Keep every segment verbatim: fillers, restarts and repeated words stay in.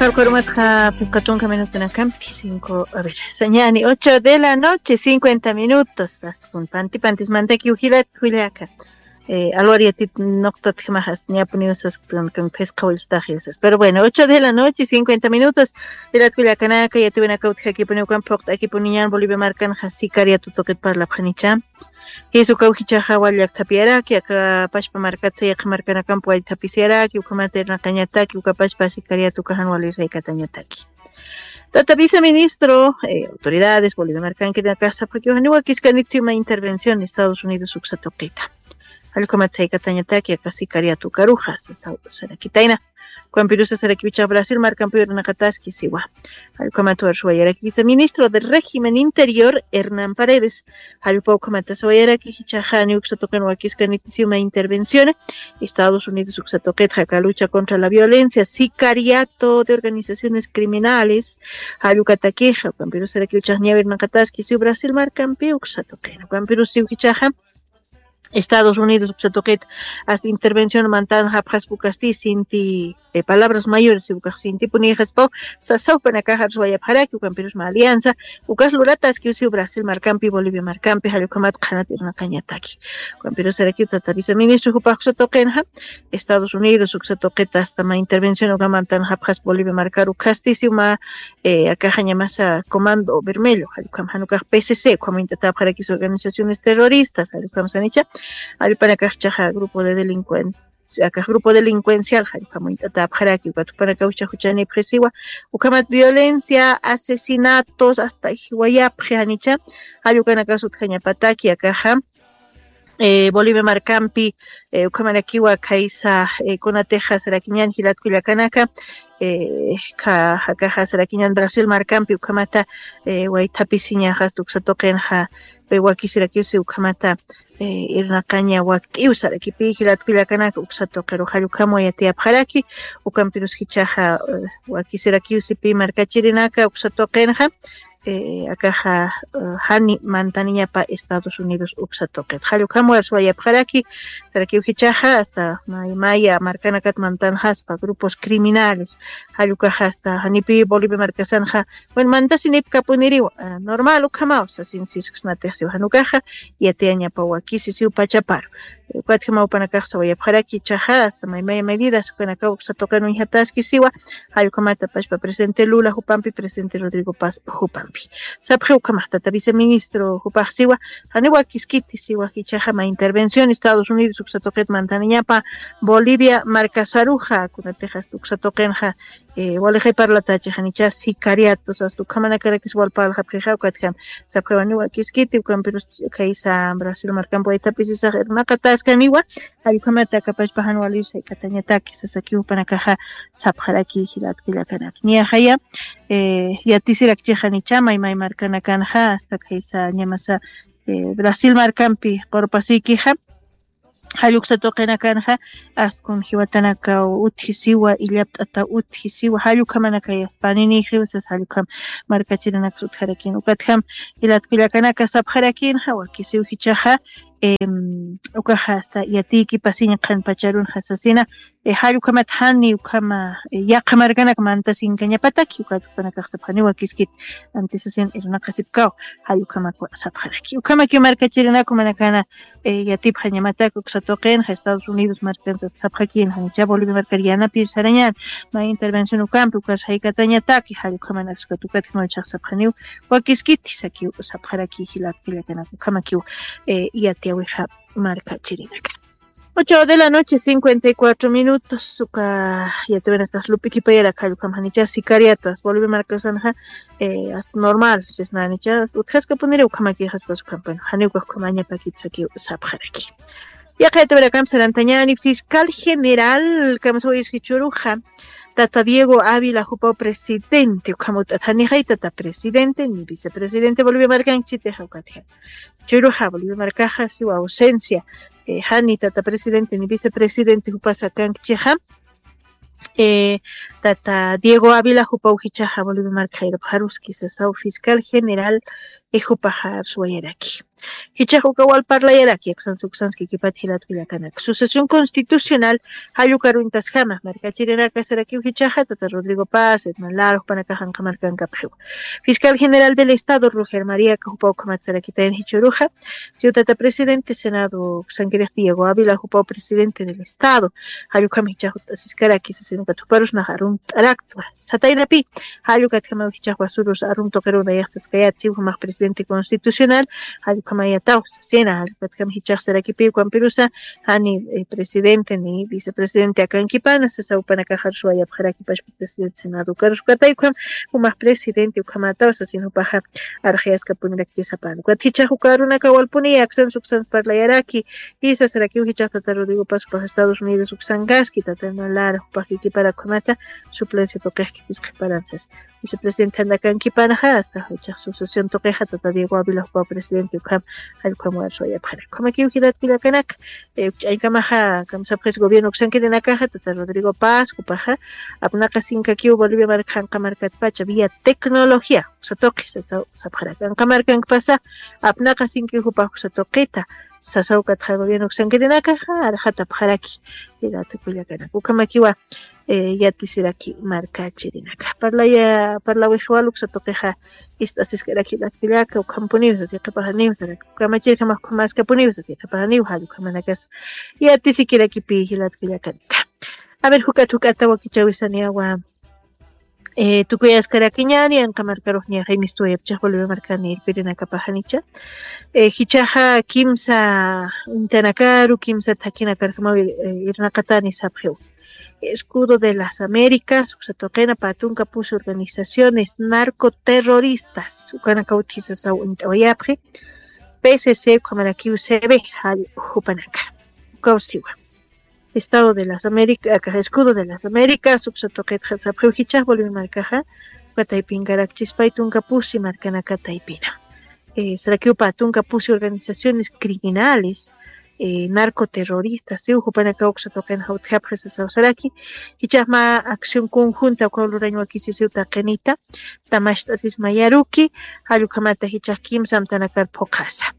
Karkarumatxa phisqa tunka minutunakampi cinco, a ver, sañani ocho de la noche, cincuenta minutos. Hasta kun panti pantis mantakiw jilat kullaka. Alwar yatit nuqtatjamax hasta ñapuniw sasktan kan phisqa willtax yasas. Pero bueno, ocho de la noche, cincuenta minutos. Jilat kullakanaka, yatiwinaka utjakipuniw kan phuqt'akipuniñan Bolivia markanxa sicariato tuqit parlapxanicha. Jisu kawkichaxa wali llakthapiaraki, aka pachpa markatsa yaqha markanakampi wali thapisiraki, ukhamata irnaqañataki, uka pachpa sicariato ukaxan wali saykatañataki. Tata viceministro, autoridades Bolivia markankirinakax sapxakiw janiwa kiskanit siwma intervención Estados Unidos uksa tuqita. Jallukhamat saykatañataki aka sicariato ukaruxa sasaw sarakitayna. Ukampirusa sarakiw ichax Brasil markampi irnaqataski siwa. Jallukhamat warsuwayaraki viceministro del régimen interior Hernán Paredes. Jallukhamat ukhamata sawayaraki jichaxa janiw uksa tuqin wakiskanit siwma intervención Estados Unidos uksa tuqitxa aka lucha contra la violencia, sicariato de organizaciones criminales. Jallukatakixa ukampirusa sarakiw ichax ñäwirnaqataski siw Brasil markampi uksa tuqin. Ukampirusa siw jichaxa Estados Unidos uksa tuqit hasta intervención mantanxapxaspa ukasti sinti, palabras mayores siw ukax sintipunïxaspaw. Sasaw jupanakax arsuwayapxaraki ukampirusma alianza ukax lurataskiw siw Brasil markampi Bolivia markampi jallukhamat qhanat irnaqañataki. Ukampirusarakiw tata viceministro jupax uksa tuqinxa Estados Unidos uksa tuqit hasta mä intervención uka mantanxapxaspa Bolivia markar ukhasti siw mä akaxa ñamasa comando bermello jallukham janukax pcc ukham uñt'atäpxarakis organizaciones terroristas jallukham sanicha. Jallpanakax ichaxa grupo de delincuencia akax grupo delincuencial jallukham uñt'atäpxaraki ukat jupanakaw ichax juchanipxisiwa. Ukhamat violencia asesinatos hasta jiwayapxi janicha. Jallukanakas utjañapataki akaxa Bolivia markampi ukhamarakiwa khaysa kunatixa sarakiñan jilat kullakanaka. Kha jakaxa sarakiñan Brasil markampi ukhamata waythapisiñaxasta uksa tuqinxa wakisirakiwsi ukhamata irnaqaña wakt'iw sarakipi jilat kullakanaka uksa tuqiru jallukhamwa yatiyapxaraki. Ukampirus jichaxa wakisirakiwsi pi markachirinaka uksa tuqinxa akaxa jani mantaniñapa Estados Unidos uksa tuqit jallukhamwa suwayapxaraki. Sarakiw jichaxa hasta maymaya markanakat mantanxaspa grupos criminales jallukaxa hasta janipi Bolivia markasanxa. Bueno mantasinipkapuniriw normal ukhamaw sasin sisksnatix siw janukaxa yatiyañapa wakisi siw pachaparu. Ukatjamaw jupanakax sawayapxaraki ichaxa hasta maymaya medidas jupanakaw uksa tuqin uñjataski siwa. Jallukhamata pachpa presidente Lula jupampi presidente Rodrigo Paz jupampi sapxi ukhamax tata viceministro jupax siwa. Janiw wakiskiti siwa jichaxa mä intervención Estados Unidos uksa tuqit mantaniñapa Bolivia markasaruxa kunatixasta uksa tuqinxa walixay parlatachi janicha sicariatos hasta ukhamanakarakis wal parlaxapxixa ukatjam sapxiwaniwa kiskiti ukampirus khaysa Brasil markampi waythapisisax irnaqataskaniwa. Jallukhamata aka pachpa jan waliw saykatañataki sasakiw jupanakaxa sapxaraki jilat kullakanaka niyaxaya yatisirakchix janicha maymay markanakanxa hasta khaysa ñamasa Brasil markampi qurpasiykixa. Jalluksa tuqinakanxa astkun jiwatanakaw utjisiwa illapt'ataw utjisiwa jallukhamanakayaspaniñxiw sas jallukham markachirinakas utjarakin ukatjam jilat kullakanaka sapxarakinxa wakisiw jichaxa ukaxa hasta yatiykipasiñ qhanpacharunxa sasina. Jallukhamat jani ukhama yaqha markanak mantasinkañapataki ukat jupanakax sapxaniwa kiskit antisasin irnaqasipkaw jallukhamakwa sapxaraki ukhamakiw markachirinaku manakana yatipxañamatak uksa tuqinxa Estados Unidos markansa sapxakin janicha Bolivia markar yanapir sarañan mä intervención ukampi ukas jaykatañataki jallukhamanaksukat ukatjamaw ichax sapxaniw wakiskiti sakiw sapxaraki jilat kullakanaka ukhamakiw yatiyawixa markachirinaka. Ocho de la noche cincuenta y cuatro minutos uka yatiwinakas lup'ikipayarak jallukam janicha sicariatas Bolivia markasanxa hasta normal sisnanicha hasta utjaskapuniri ukhamakixaspas ukham bueno janiwkax ukhamañapakit sakiw sapxaraki. Yaqha yatiwinakamp sarantañani fiscal general kamsawayis jichuruxa tata Diego Ávila jupaw presidente ukham ut'at janixay tata presidente ni vicepresidente Bolivia markank chitixa ukatjan. Churuxa Bolivia markaxa siwa ausencia jani tata presidente ni vicepresidente jupasa kankchixa. eh, tata Diego Ávila jupaw jichaxa Bolivia marka jayrapxaruski sasaw fiscal general, eh, jupaxa arsuwayaraki. Jichax uka wal parlayaraki, aksansa uksansa kikipat jilat kullakanak. Sucesión Constitucional jall ukaruw intasjama markachirinaka sarakiw jichaxa tata Rodrigo Paz, Edman Lara, jupanakax anqa markankapxiw. Fiscal General del Estado, Roger María, aka jupaw ukhamat sarakitayan jichhüruxa, siw tata presidente Senado uksankirix Diego Ávila, jupaw presidente del Estado, jall ukham jichax ut'asiskaraki sasin ukat juparus nax arumt'araktwa. Sataynapi, jall ukatjamaw jichax wasurus arum tuqiruw nayax saskayät, siw jumax presidente constitucional, jall ukhamayataw sasina, jall ukatjam jichax sarakipi ukampirusa, jani, eh, presidente ni vicepresidente akankipana, sasa jupanakax arsuwayapxaraki pachpa presidente Senado ukarus ukatay ukham, jumax presidente ukhamataw sasin jupaxa arxayaskapunirakchi sapan. Ukat jichax uka arunaka walpuni aksansa uksansa parlayaraki, jisa sarakiw jichax tata Rodrigo Paz jupax Estados Unidos uksankaski, tata Edman Lara jupax kikipara ukhamata suplencia tuqix kikisqaparan sas. Vicepresidente janda akankipanaxa, hasta jichax sucesión tuqixa tata Diego Ávila jupaw presidente ukham, jall ukham arsuwayapxaraki. Ukhamakiw jilat kullakanaka, eh, ukch'añkamaxa, kamsapxis gobierno uksankirinakaxa, tata Rodrigo Paz, jupaxa, apnaqasinkakiw Bolivia marka janqa markatpacha, vía tecnología, uksa tuqi, sasaw, sapxaraki. Anqa markankpasa, apnaqasinkiw jupax uksa tuqita, sasaw katxa gobierno uksankirinakaxa, arxatapxaraki, jilat kullakanaka. Ukhamakiwa, eh, yatisiraki markachirinaka. Parlaya, parlawix wal uksa tuqixa, ist'asiskaraki jilat kullaka, ukhampuniw sas, yaqhipaxaniw saraki, kamachirjamax ukhamaskapuniw sas, yaqhipaxaniw jall ukhamanakas yatisikirakipi jilat kullakanaka. A ver, juk'at juk'ata wakichawisaniyawa, eh, tukuyaskarakiñäni, anqa markarux ñaxay mistuwayapchax Bolivia markani irpirinakapaxanicha. Eh, jichaxa kimsa uñtanakaru, kimsa thakhinakarjamaw, eh, irnaqatani sapxiw. Escudo de las Américas, uksa tuqina, pä tunka pusi organizaciones narcoterroristas, ukanakaw utji sasaw uñt'awayapxi. P C C, ukhamarakiw C B, jall jupanaka. Ukaw siwa. Estado de las Américas, aka Escudo de las Américas, uksa tuqitxa sapxiw jichax Bolivia markaxa, uka taypinkarakchis pä tunka pusi markanaka taypina. Eh, sarakiw pä tunka pusi organizaciones criminales, eh, narcoterroristas, siw jupanakaw uksa tuqinxa utjapxi sasaw saraki, jichax mä acción conjunta ukaw lurañ wakisi siw taqinita, tamacht'asis mayaruki, jall ukhamata jichax kimsa amtanakar phuqhasa.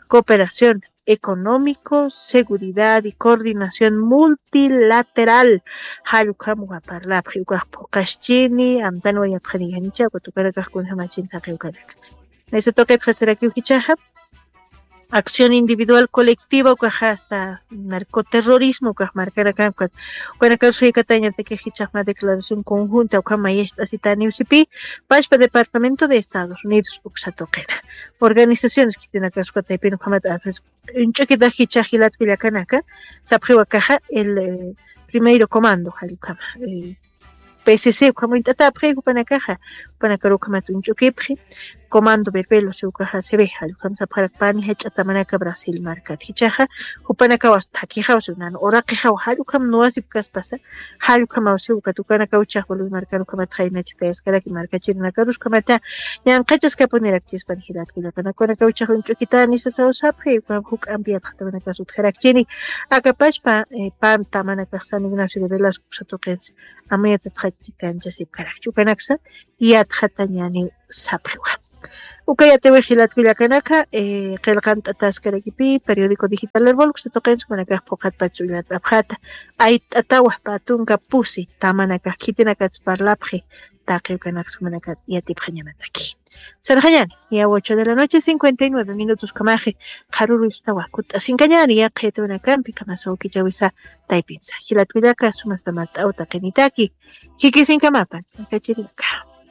Cooperación económico, seguridad y coordinación multilateral. Jall ukham parlapxi, ukax phuqhaschini, amtanwayapxani yanicha, ukat ukanakax kunjamachin taqi ukanaka. Naysa tuqitxa sarakiw jichaxa, acción individual colectiva, ukaxa hasta narcoterrorismo, ukax markanaka, ukat, ukanakar suykatañataki jichax mä declaración conjunta, ukham mayacht'asitaniw sipi, pachpa Departamento de Estados Unidos, uksa tuqina. Organizaciones khitinakas uka taypin ukhamat, a ver, uñch'ukitax jichax jilat kullakanaka, sapxiw akaxa, el, eh, primero comando, jall ukhama, eh, P C C, ukham uñt'atapxi, jupanakaxa, jupanakar ukhamat uñch'ukipxi, comando Berbelo, siw ukaxa, C B, jall ukham sapxarak pani jach'a tamanaka Brasil markat. Jichaxa, jupanakaw as thakixaw, siw nan uraqixaw, jall ukham nuwasipkaspasa, jall ukhamaw siw ukat ukanakaw jichax Bolivia markan ukhamat jaynachitayaskaraki markachirinakaru ukhamata, ñanqhachaskapunirakchispan jilat kullakanaka, ukanakaw jichax uñch'ukitani sasaw sapxi, ukham juk'ampi yatxatamanakas utjarakchini, aka pachpa, eh, pä tamanakax San Ignacio de Velasco uksa tuqinsa, amuyatatxa chikanchasipkarakchi, ukanaksa yatxatañäniw sapxiwa. Uka yatiwix jilat kullakanaka, eh, qillqant'ataskarakipi, periódico digital Erbol, uksa tuqinsa ukanakax phuqhatpach uñt'apxata, ayt'atawa pä tunka pusi, tamanakax khitinakats parlapxi, taqi ukanaksa umanaka yatipxañamataki. Sarxañäni, ya ocho de la noche, cincuenta y nueve minutos ukhamaxi, qharüruystawa, kutt'asinkañäni, yaqha yatiwinakampi, kamasaw kichawisa taypinsa. Jilat kullaka, sumasta mart'aw taqinitaki, jikisinkamapan, markachirinaka.